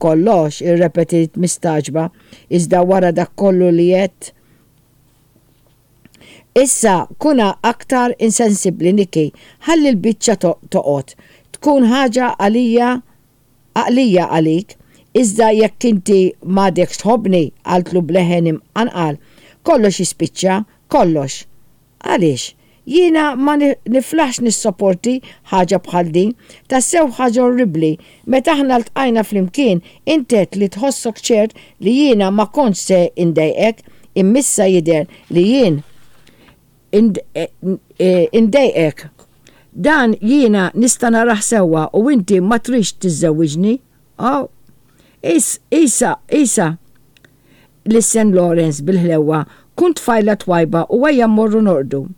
Kollox, irrepetiet mistagħġba, iżda wara dak kollu li għedt? Issa kun aktar insensibbli, Nikki, ħalli l-biċċa toqgħod. Tkun ħaġa għalija għaqlija għalik. Iżda jekk inti m'għadekx tħobbni, qaltlu b'leħen imqanqal, kollox jispiċċa, kollox. Għaliex? Jiena ma niflaħx nissoporti ħaġa bħal din. Tassew ħaġa orribbli. Meta aħna ltqajna flimkien, int għedt li tħossok ċert li jiena ma kontx se ndejqek, imma issa jidher li jien indejqek. Dan jiena nista' narah sewwa u inti ma tridx tiżżewwiġni. Oh. Is, isa, isa. Lissen Lawrence bil-ħlewwa, kun tfajla twajba u ejja mmorru norqdu.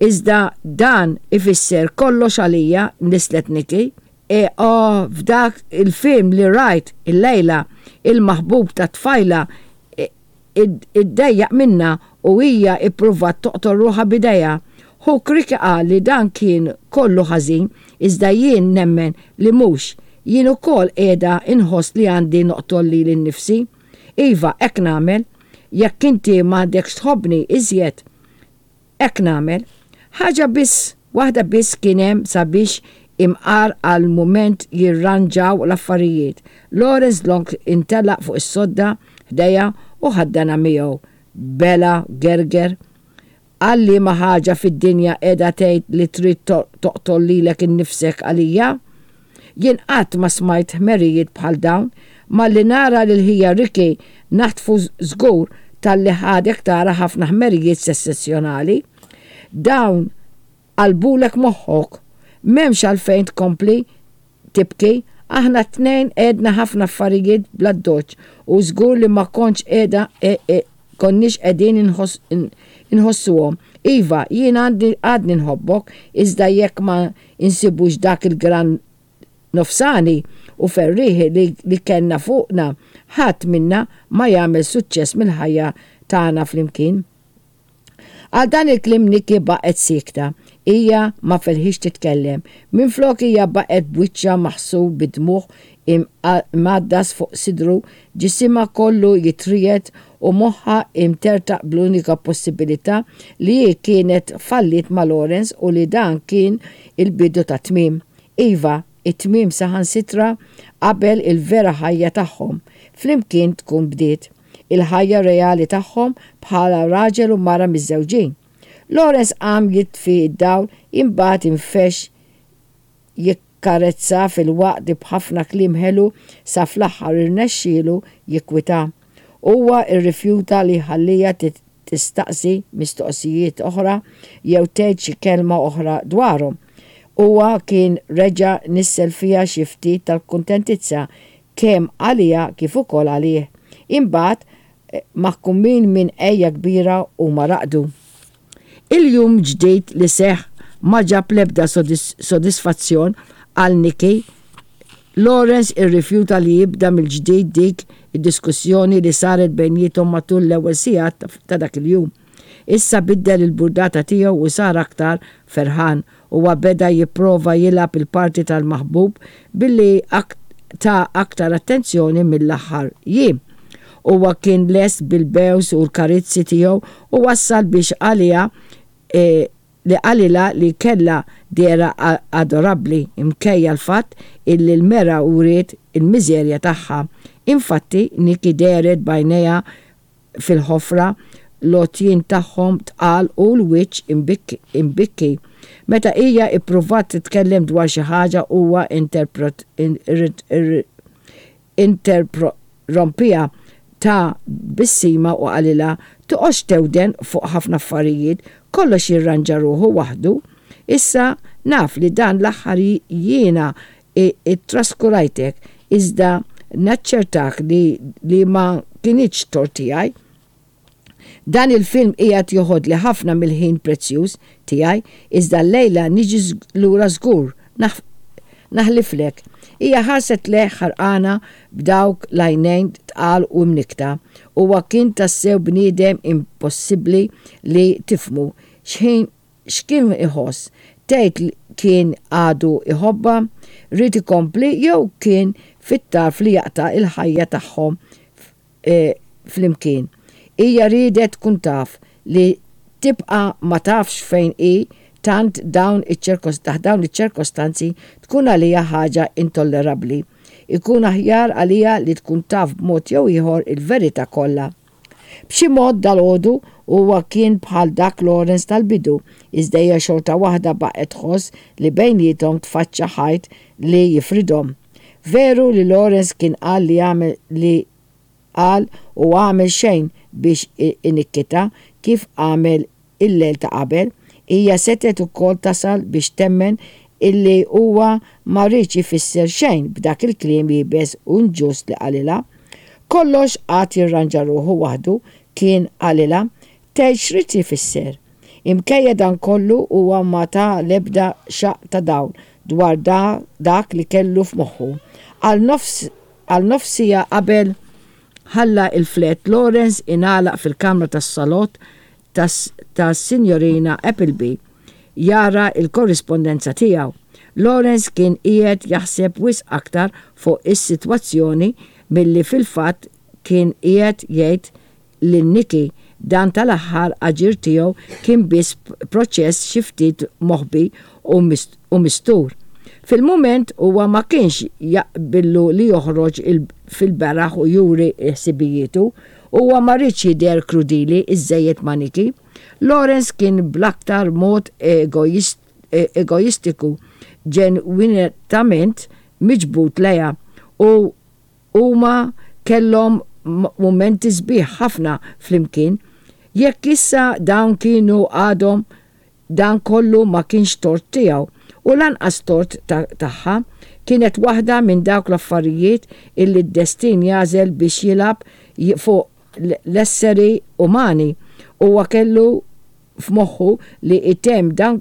Iżda dan ifisser kollox għalija, nisslet Nikki. E, oh, f'dak il-film li rajt illejla, il-maħbub tat-tfajla iddejjaq minnha u hija ippruvat toqtol ruħha b'idejha. Ħuk Ricky qal li dan kien kollu ħażin, iżda jien nemmen li mhux. Jien ukoll qiegħda inħoss li għandi noqtol lili nnifsi. Iva, hekk nagħmel. Jekk inti m'għadekx tħobbni iżjed, hekk nagħmel. Ħaġa biss, waħda biss kien hemm sabiex imqar għal mument jirranġaw l-affarijiet. Lawrence dlonk intelaq fuq is-sodda ħdejha u ħaddanha miegħu. Bela gerger. Għal liema ħaġa fid-dinja qiegħda tgħid li trid toqtol lilek innifsek għalija? Jien qatt ma smajt ħmerijiet bħal dawn. Malli nara lil ħija Ricky naħtfu żgur talli ħadek tara ħafna ħmerijiet sessessjonali. Dawn qalbulek moħħok. M'hemmx għalfejn tkompli tibki. Aħna t-tnejn għedna ħafna affarijiet bl-addoċċ u żgur li ma kontx qiegħda konniex qegħdin inħossuhom. Iva, jien għadni nħobbok, iżda jekk ma insibux dak il-gran nofsani u ferrieħi li kellna fuqna, ħadd minna ma jagħmel suċċess mill-ħajja tagħna flimkien. Għal dan il-kliem Nikki baqgħet siekta. Hija ma felħitx titkellem. Minflok hija baqgħet b'wiċċha maħsul bid-dmugħ imgħaddas fuq sidru, ġisimha kollu jitriegħed u moħħha imtertaq bl-unika possibilità li hi kienet falliet ma' Lawrence u li dan kien il-bidu tat-tmiem. Iva, it-tmiem saħansitra qabel il-vera ħajja tagħhom flimkien tkun bdiet. Il-ħajja reali tagħhom bħala raġel u mara miżżewġin. Lawrence qam jitfi d-dawl imbagħad infexx jikkarezza filwaqt li b'ħafna kliem ħelu sa fl-aħħar irnexxielu jikkwitha. Huwa rrifjuta li jħalliha tistaqsi mistoqsijiet oħra jew tgħid xi kelma oħra dwarhom. Huwa kien reġa' nissel fiha xi ftit tal-kuntentizza kemm għaliha kif ukoll għalih. Imbagħad, maħkumin minn għeja kbira huma raqdu. Il-jum ġdid li seħħ ma ġab l-ebda sodisfazzjon għal Nikki. Lawrence irrifjuta li jibda mill-ġdid dik id-diskussjoni li saret bejniethom matul l-ewwel sigħat ta' dak il-jum. Issa biddel il-burdata tiegħu u sar aktar ferħan. Huwa beda jipprova jilgħab il-parti tal-maħbub billi ta aktar attenzjoni mill-aħħar jiem. Huwa kien lest bil-bews u l-karizzi tiegħu u wassal biex għaliha li qalilha li kellha dehra adorabbli mkejja l-fatt illi l-mera wriet il-miżerja tagħha. Infatti, Nikki dehret b'għajnejha fil-ħofra, l-għotjien tagħhom tqal u l-wiċċ imbikki. Meta hija ippruvat titkellem dwar xi ħaġa huwa interrompiha ta tbissima u qalilha, Toqgħodx thewden fuq ħafna affarijiet, kollox jirranġa ruħu waħdu. Issa naf li dan l-aħħar jiena Ittraskurajtek, iżda naċċertak li li ma kinitx tort tiegħi. Dan il-film qiegħed joħodli ħafna mill-ħin prezzjuż tiegħi, iżda llejla niġi lura żgur, naħliflek. Hija ħarset lejh ħerqana b'dawk l-għajnejn tqal u mnikkta. Huwa kien tassew bniedem impossibbli li tifhmu. X'ħin X'kien iħoss? Tgħid kien għadu jħobbha? Ried ikompli jew kien fit-tarf li jaqta' l-ħajja tagħhom flimkien. Hija riedet tkun taf li tibqa' ma tafx fejn hi tant dawn taħt dawn iċ-ċerkostanzi tkun għaliha ħaġa intollerabbli. Ikun aħjar għaliha li tkun taf b'mod jew ieħor il-verità kollha. B'xi mod dalgħodu huwa kien bħal dak Lawrence tal-bidu, iżda hija xorta waħda baqgħet tħoss li bejniethom tfaċċa ħajt li jifridhom. Veru li Lawrence kien qal li għamel li qal u għamel xejn biex inikkitha kif għamel il-lejl ta' qabel, hija setgħet ukoll tasal biex temmen illi huwa ma riedx ifisser xejn b'dak il-kliem iebes u inġust li qalilha. Kollox għad jirranġa ruħu waħdu, kien qalilha. Tgħid x'ried ifisser? Imkejja dan kollu huwa ma ta l-ebda xaqq ta' dawl dwar dak li kellu f'moħħu. Għal nofs għal nofs siegħa qabel ħalla l-flat, Lawrence ingħalaq fil-kamra tas-salott tas-Sinjorina Appleby jara l-korrispondenza tiegħu. Lawrence kien qiegħed jaħseb wisq aktar fuq is-sitwazzjoni milli fil-fatt kien qiegħed jgħid lil Nicky, dan tal-aħħar aġir tiegħu kien biss proċess xi ftit moħbi u mistur. Fil-mument huwa ma kienx jaqbillu li joħroġ fil-beraħ u juri ħsibijietu. Huwa ma riedx jidher krudili żżejjed ma' Nicky. Lawrence kien bl-aktar mod egoistiku ġenwinatament miġbud lejha u Huma kellhom mumenti sbieħ ħafna flimkien. Jekk issa dawn kienu għadhom, dan kollu ma kienx tort tiegħu u lanqas tort tagħha. Kienet waħda minn dawk l-affarijiet illi d-destin jagħżel biex jilgħab fuq l-esseri umani. Huwa kellu f'moħħu li jtemm dan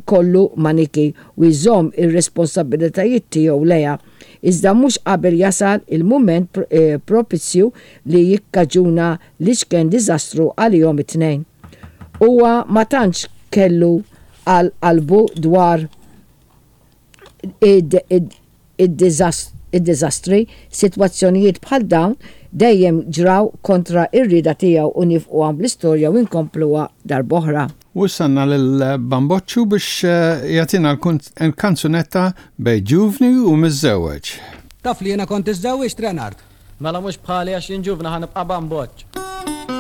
kollu ma' Nikki u jżomm ir-responsabbilitajiet tiegħu lejha, iżda mhux qabel jasal il-mument propizju li jikkaġuna l-iċken diżastru għalihom it-tnejn. Huwa ma tantx kellu għal qalbu dwar id-diżastri, sitwazzjonijiet bħal dawn dejjem ġraw kontra r-rieda tiegħu u niefqu hawn bl-istorja u nkompluha darb'oħra. U issa għandna lil Bamboċċu biex jagħtina l-kanzunetta Bejn ġuvni u miżżewweġ. Taf li jiena kont iżżewwiġt Renard? Mela mhux bħali għax jien ġuvni ħa nibqa' bamboċċ.